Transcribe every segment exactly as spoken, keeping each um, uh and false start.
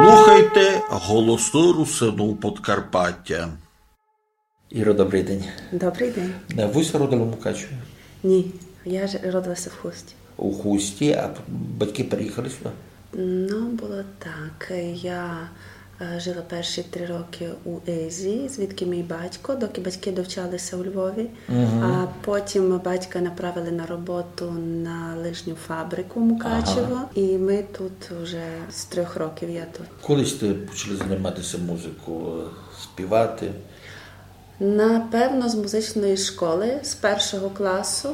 Слухайте Голосы Русинув Подкарпатя. Іро, добрый день. Добрый день. Е, вы ся родили у Мукачеві? Ні, я ж родилася в Хусті. У Хусті, а батьки переїхали сюди? Ну, было так. Я е, жила перші три роки у Езі, звідки мій батько, доки батьки довчалися у Львові. А потім батька направили на роботу на лижню фабрику Мукачево, і ми тут вже з трьох років я тут. Коли сте почали займатися музикою, е, співати? Напевно, з музичної школи, з першого класу,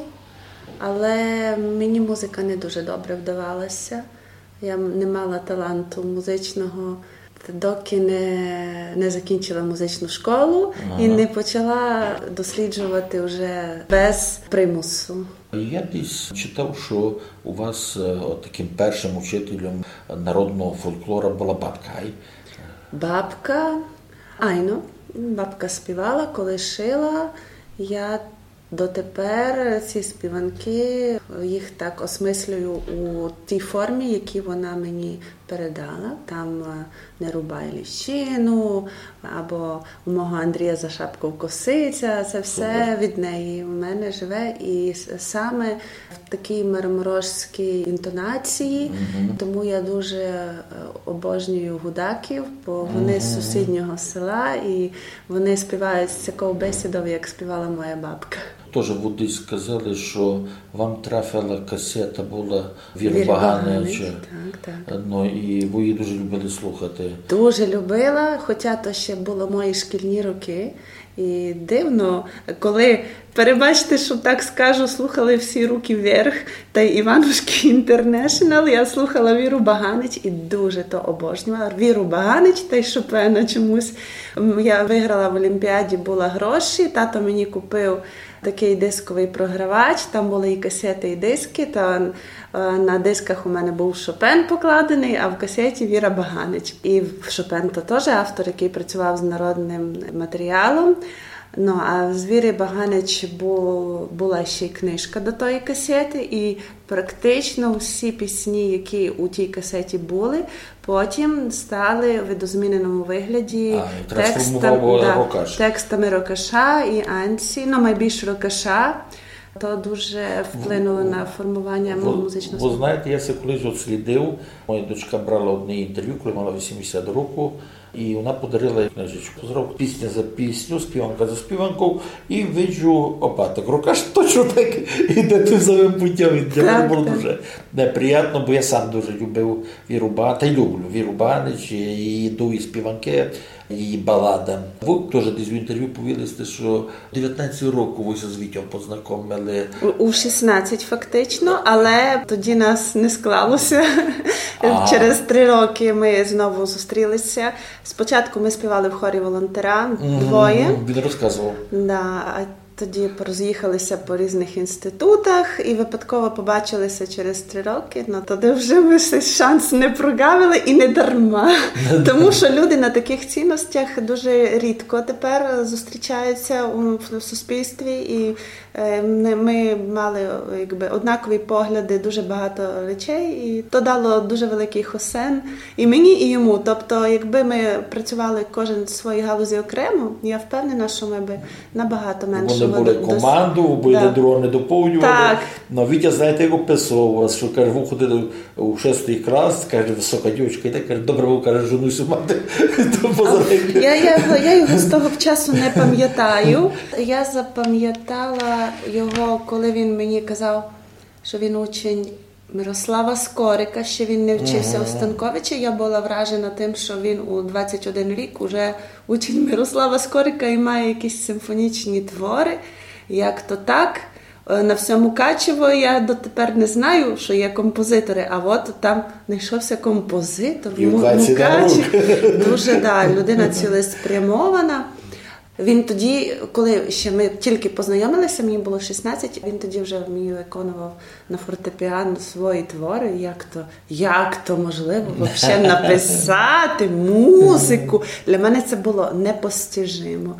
але мені музика не дуже добре вдавалася. Я м-, не мала таланту музичного, доки не, не закінчила музичну школу і не почала досліджувати вже без примусу. Я десь читав, що у вас, е, от таким першим учителем народного фольклора була бабка, ай? Бабка, айно, бабка співала, коли шила. Я дотепер ці співанки, їх так осмислюю у тій формі, які вона мені передала. Там е, «Не рубай ліщину» або «У мого Андрія за шапков косиця». Це все від неї в мене живе. І с- саме в такій марморожській інтонації. Тому я дуже е, обожнюю гудаків, бо вони з сусіднього села, і вони співають з такою бесідою, як співала моя бабка. Тоже вы десь сказали, що вам трафила касета була Віры Баганич. Так, так. Ну, і ви її дуже любили слухати. Дуже любила, хоча то ще було мої шкільні роки. І дивно, коли, перебачте, що так скажу, слухали всі «Руки вверх» та й «Іванушки Інтернешнл», я слухала Віру Баганич і дуже то обожнювала. Віру Баганич та й Шопена чомусь. М, я виграла в олімпіаді, була гроші, тато мені купив такий дисковий програвач, там були і касети, і диски, та е, на дисках у мене був Шопен покладений, а в касеті Віра Баганич. І Шопен то теж автор, який працював з народним матеріалом. Ну, а з Віри Баганич бу- була ще й книжка до тої касети, і практично всі пісні, які у тій касеті були, потім стали в видозміненому вигляді А, і трансформував текстам-, да, Рокаш. Текстами Рокаша і Анці, ну, майбільш Рокаша. То дуже вплинуло на формування мого музичного Вы смаку. Знаєте, я се колись от слідив. Моя дочка брала одне інтервю, коли мала вісімдесят років, і вона подарила книжечку. Зробив пісня за пісню, співанка за співанкою, і виджу, опа, так Рокаш точно так іде тим самим путем. І для мене було дуже неприємно, бо я сам дуже любив Віру Ба-, та й люблю Віру Баганич, і її дуї співанки, її балада. Ви теж десь в інтервю повіли сте, що девятнадцять років ви ся з Вітьом познайомили. У, у шістнадцять фактично, але тоді нас не склалося. А. Через три роки ми знову зустрілися. Спочатку ми співали в хорі волонтера двоє. Він розказував. Да, а тоді пороз'їхалися по різних інститутах і випадково побачилися через три роки. Ну, тоді вже ми цей шанс не прогавили і не дарма. Тому що люди на таких цінностях дуже рідко тепер зустрічаються у, в суспільстві, і е, не- ми мали, якби, однакові погляди, дуже багато речей, і то дало дуже великий хосен і мені, і йому. Тобто, якби ми працювали кожен в своїй галузі окремо, я впевнена, що ми би набагато менше... Вони були дос- команду, бо Да. Один другого не доповнювали. Так. Ну, Вітя, знаєте, як описував вас, що, каже, ви ходили у шостий клас, каже, висока дівчинка, і так, каже, добре, ви, каже, жону сю мати. То поза- Я, я, його- я його з того часу не пам'ятаю. Я запам'ятала його, коли він мені казав, що він учень Мирослава Скорика, ще він не вчився у Станковичі. Я була вражена тим, що він у двадцять один рік уже учень Мирослава Скорика і має якісь симфонічні твори. Як то так? Е, на всьому Мукачево я дотепер не знаю, що є композитори, а от там знайшовся композитор, му- мукач. Дуже, да, людина цілеспрямована. Він тоді, коли ще ми тільки познайомилися, мені було шістнадцять, він тоді вже мені виконував на фортепіано свої твори. Як то, як то можливо вообще написати музику? Для мене це було непостижимо.